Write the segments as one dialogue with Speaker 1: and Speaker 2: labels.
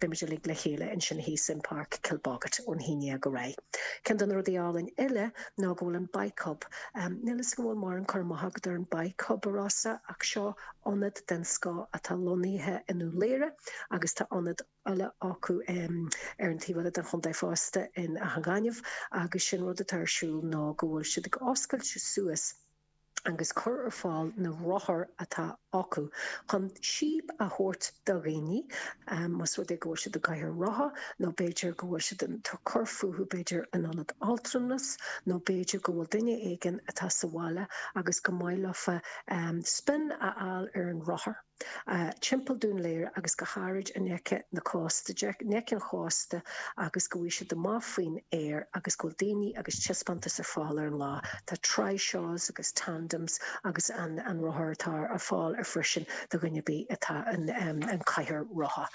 Speaker 1: Beimid uilig le chéile ansin thíos in Páirc Kilbogget ón haon dhéag ar aghaidh. Ceann de na rudaí álainn eile ná go bhfuil an Bike Hub. Níl 'fhios agam an bhfuil mórán cur amach agat ar an Bike Hub, a Rossa, ach seo ionad den scoth atá lonnaithe i nDún Laoghaire agus tá ionad eile acu ar an taobh eile den chontae fosta in Áth an Ghainimh agus sin rud atá ar siúl ná go bhfuil siad ag oscailt suas agus cur ar fáil na rothair atá acu chun síob a thabhairt do dhaoine más rud é go bhfuil siad i gcathaoir rotha nó b'fhéidir go bhfuil siad ag cur fúthu b'fhéidir in ionad altranais nó b'fhéidir go bhfuil duine éigin atá sa bhaile agus go maith leofa spin a fháil ar an rothar timpeall Dún Laoghaire agus go háirid in aice na cósta, in aice an chósta agus go bhfaighidh siad amach faoin aer agus go bhfuil daoine agus taispeántas ar fáil ar an lá. Tá trishaws agus tandems agus an an rothar atá ar fáil ar freisin do dhuine ar bith atá in an cathaoir rotha.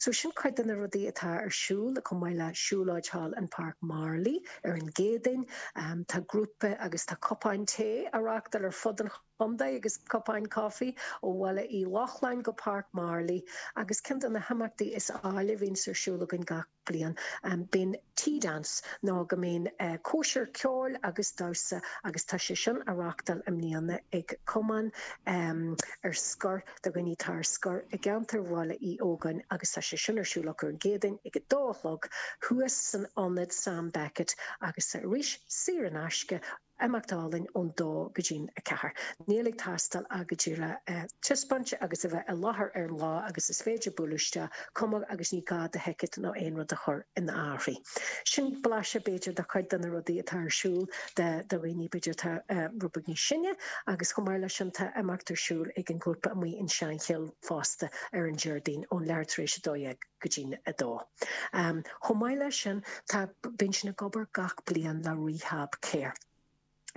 Speaker 1: So sin cuid de na rudaí atá ar siúl chomh maith le siúlóid thall in Páirc Marlay ar an gCéadaoin. Tá grúpa agus tá cupáin tae á reáchtáil ar fud an chontae agus cupáin coffee ó Bhaile Uí Lochlainn go Páirc Marlay agus ceann de na himeachtaí is áille a bhíonns ar siúl againn gach bliain, bíonn Tea Dance nó go mbíonn cóisir ceoil agus damhsa agus tá sé sin á reáchtáil i mbliana ag cumann ar scor do dhaoine atá ar scor i gceantar Bhaile Uí Ógáin agus tá sé sin ar siúl acu ar an gCéadaoin ag a dó a chlog thuas san ionad Sam Beckett agus arís saor in aisce Imeacht álainn ón dó go dtí'n 4. Níl ag teastáil ach go díreach taispeáint agus a bheith i láthair ar an lá agus is féidir bualadh isteach, cuma agus ní gá do thicéad nó aon rud a chur in áirithe. Sin blaiseadh b'fhéidir de chuid de na rudaí atá ar siúl do dhaoine b'fhéidir atá rud beag níos sine agus chomh maith leis sin tá imeacht ar siúl ag an ghrúpa amuigh in Seanchill fosta ar an Déardaoin ón leathuair tar éis 12 go dtí'n 2. Chomh maith leis sin, tá, bíonn siad ag obair gach bliain le Rehab Care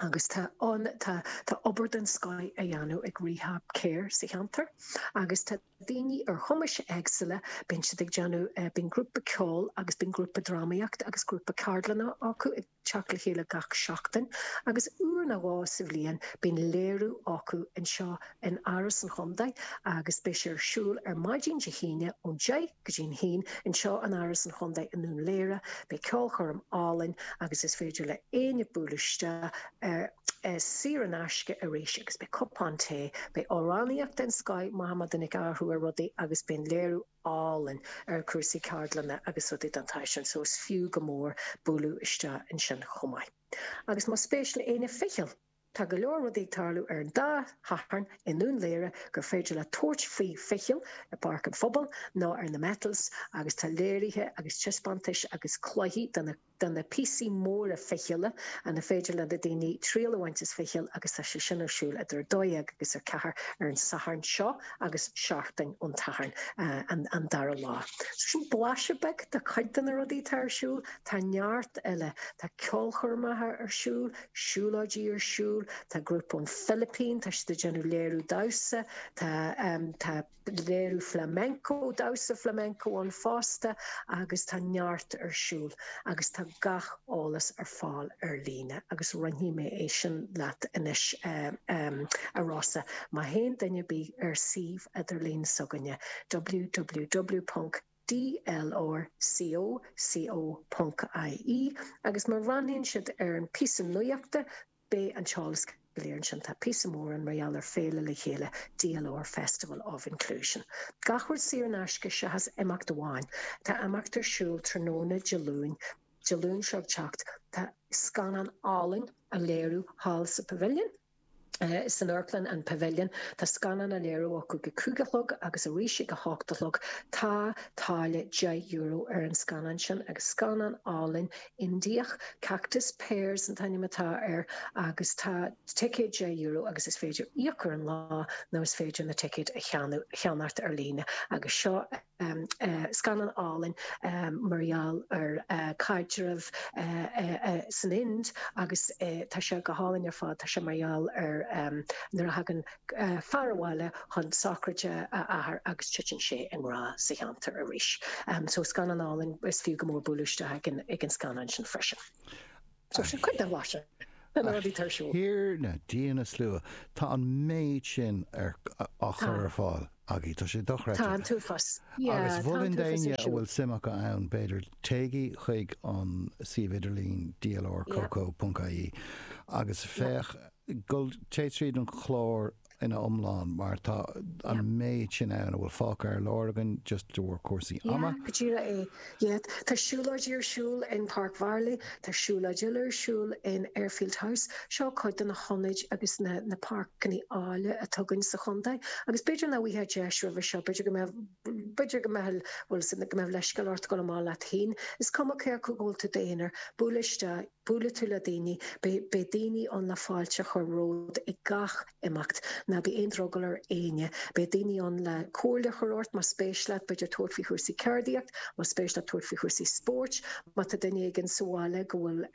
Speaker 1: agus tá an, tá, tá obair den scoth á dhéanamh ag Rehab Care sa cheantar agus tá daoine ar chumais éagsúla, bíonn siad ag déanamh, bíonn grúpa ceoil agus bíonn grúpa drámaíochta agus grúpa ceardlanna acu ag teacht le chéile gach seachtain agus uair nó dhó sa bhliain bíonn léiriú acu anseo in Áras an Chontae agus beidh sé ar siúl ar maidin Dé hAoine ón 10 go dtí'n haon anseo in Áras an Chontae i nDún Laoghaire. Beidh ceolchoirm álainn agus is féidir le éinne bualadh isteach ar saor in aisce arís agus beidh cupán tae, beidh amhránaíocht den scoth, maith má duine ag athrú ar rudaí agus beidh an léiriú álainn ar cúrsaí ceardlanna agus rudaí den tsaghas sin so is fiú go mór bualadh isteach ansin chomh maith. Agus más spéis le éinne ficheall, tá go leor rudaí ag tarlú ar an dá Shatharn i nDún Laoghaire gur féidir leat tabhairt faoi ficheall i bPáirc an Phobail nó ar na Metals agus tá léirithe agus taispeántais agus cluichí de na de na píosaí móra fichille ina féidir le na daoine triail a bhaint as ficheall agus tá sé sin ar siúl idir 12 agus 4 ar an Satharn seo agus seachtain ón tSatharn an dara lá. So sin blaiseadh beag de chuid de na rudaí atá ar siúl. Tá neart eile. Tá ceolchoirmeacha ar siúl, siúlóidí ar siúl, tá grúpa ón Philipín, tá siad ag déanamh léiriú damhsa, tá tá. léiriú flamenco, damhsa flamenco ann fosta agus tá neart ar siúl agus tá gach eolas ar fáil ar líne agus roinnfidh mé é sin leat anois a Rossa. Má théann duine ar bith ar suíomh idirlín s'againne www.dlrcoco.ie agus má bhreathnaíonn siad ar an píosa nuachta Beidh an t-eolas go léir ansin. Tá píosa mór ann mar gheall ar Féile Le Chéile, DLR Festival of Inclusion. Gach rud saor in aisce seachas imeacht amháin. Tá imeacht ar siúl tráthnóna Dé Luain, Dé Luain seo ag teacht. Tá scannán álainn á léiriú thall sa Pavilion, san amharclann an Pavilion. Tá scannán á léiriú acu ag a cúig a chlog agus arís ag a hocht a chlog. Tá táille €10 ar an scannán sin agus scannán álainn Indiach, Cactus Pears an t-ainm atá air agus tá ticéad €10 agus is féidir íoc ar an lá nó is féidir na ticéid a cheannacht ar líne agus seo scannán álainn mar gheall ar caidreamh san Ind agus tá sé go hálainn ar fad, tá sé mar gheall ar nuair a thagann fear abhaile chun sochraide a athar agus titeann sé i ngrá sa cheantar arís. So scannán álainn, is fiú go mór bualadh isteach ag an ag an scannán sin freisin. So sin cuid den bhlaiseadh de na rudaí atá ar siúl.
Speaker 2: A Thiarna, Dia na Slua, tá an méid sin ar á chur ar fáil. Agaibh. Tá sé dochreidte.
Speaker 1: Tá an t-uafás. Yeah,
Speaker 2: Agus
Speaker 1: tá an
Speaker 2: mholfainn
Speaker 1: t-uafás
Speaker 2: d'éinne
Speaker 1: ar
Speaker 2: a
Speaker 1: siúl.
Speaker 2: bhfuil suim acu ann, b'fhéidir, téigí chuig an suíomh idirlín dlrcoco.ie agus féach, gul, téigh tríd an chlár ina iomlán mar tá an méid sin ann a bhfuil fágtha ar lár againn just de bharr cúrsaí ama.
Speaker 1: Yeah, go díreach é. Yeah, tá siúlóidí ar siúl in Páirc Mharlaí, tá siúlóid eile ar siúl in Airfield House. Seo cuid de na hionaid agus na na páirceanna áille atá againn sa chontae. Agus b'fhéidir nach bhfaighfeá deis roimhe seo, b'fhéidir go mbeadh, b'fhéidir go mbeadh, bhfuil 's go mbeadh leithscéal ort dul amach leat féin. Is cuma cé acu go bhfuil tú i d'aonar, buail isteach, buailfidh tú le daoine, beidh, beidh daoine ann le fáilte a chur romhat ag gach imeacht. Ná bí aon drogall ar éinne. Beidh daoine ann le comhairle a chur ort más spéis leat b'fhéidir tabhairt faoi chúrsaí ceardaíocht, más spéis leat tabhairt faoi chúrsaí spóirt, má tá duine éigin sa bhaile go bhfuil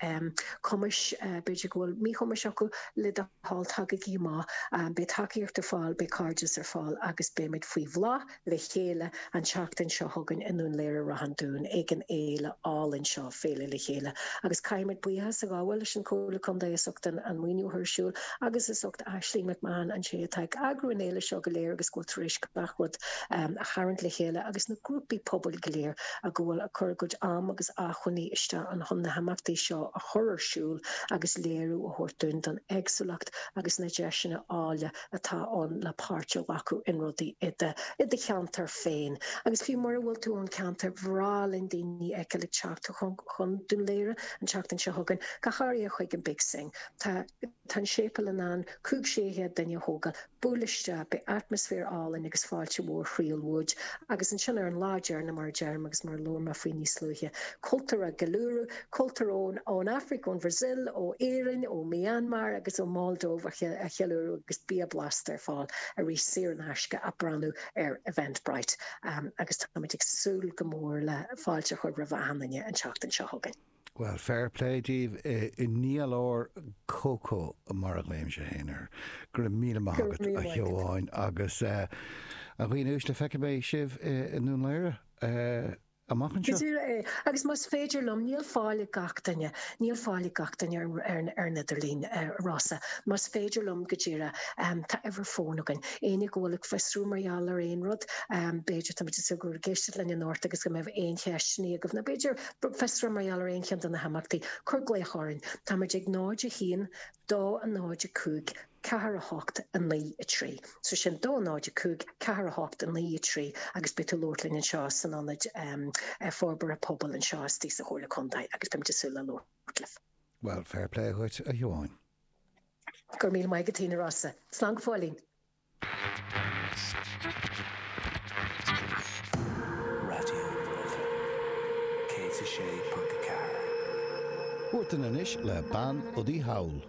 Speaker 1: cumais, b'fhéidir go bhfuil míchumais acu, le do thoil tagaigí amach. Beidh tacaíocht ar fáil, beidh cairdeas ar fáil agus beimid faoi bhláth le chéile an tseachtain seo chugainn i nDún Laoghaire-Ráth an Dúin ag an fhéile álainn seo, Féile Le Chéile. Agus caithfimid buíochas a ghabháil leis an Chomhairle Contae as ucht an maoiniú a chur ar siúl agus as ucht Ashling McMahon, an té atá ag eagrú an fhéile seo go léir agus go bhfuil tar éis gach rud a tharraingt le chéile agus na grúpaí pobail go léir a go bhfuil ag cur a gcuid am agus acmhainní isteach chun na himeachtaí seo a chur ar siúl agus léiriú a thabhairt dúinn don éagsúlacht agus na deiseanna áille atá ann le páirt a ghlacadh in rudaí i do i do cheantar féin. Agus fiú mura bhfuil tú ón cheantar, bhreá linn daoine a fheiceáil ag teacht chun chun Dún Laoghaire an tseachtain seo chugainn, go háirithe chuig an Big Sing. Tá tá an séipéal in ann 500, 600 duine a thógáil. Buail isteach, beidh atmaisféar álainn agus fáilte mhór chroíúil uait. Agus ansin ar an lá deireanach, mar a deirim agus mar a labhair mé faoi níos luaithe, cultúr á gceiliúradh, Cultúr ón ón Afraic, ón Bhrasaíl, ó Éirinn, ó Myanmar agus ó Moldova a cheiliúradh agus bia blasta ar fáil arís saor in aisce ach breathnú ar Eventbrite agus táimid ag súil go mór le fáilte a chur roimh achan duine an tseachtain seo chugainn.
Speaker 2: Bhuel, fair play daoibh i ndlr Coco mar a ghlaoimse féin air. Go raibh míle maith agat a Shiobháin agus a dhaoine uaisle feicfidh mé sibh i nDún Laoghaire. amach
Speaker 1: Go
Speaker 2: anseo.
Speaker 1: díreach é. Agus más féidir liom, níl fáil ag gach duine, níl fáil ag gach duine ar ar an idirlíon, a Rossa. Más féidir liom, go díreach, tá uimhir fóin againn. Éinne go bhfuil ag fiosrú mar gheall ar aon rud, b'fhéidir, táimid ag súil go bhfuil ag éisteacht linn anocht agus go mbeidh aon cheisteanna agaibh, nó b'fhéidir fiosrú mar gheall ar aon cheann de na himeachtaí, cuir glaoch orainn. Táimid ag 0 1 2 0 5 4 8 9 3. So sin 2 0 5 4 8 9 3 agus beidh tú ag labhairt linn anseo san Ionad Forbartha Pobail anseo istigh sa Chomhairle Contae agus beimid ag súil le labhairt libh.
Speaker 2: Bhuel, fair play dhuit, a Shiobháin.
Speaker 1: Go raibh míle maith agat, a Rossa. Slán go fóillín.
Speaker 3: Raidió na Life 106.4.
Speaker 2: Huartan anois le Bean Udaí Thall.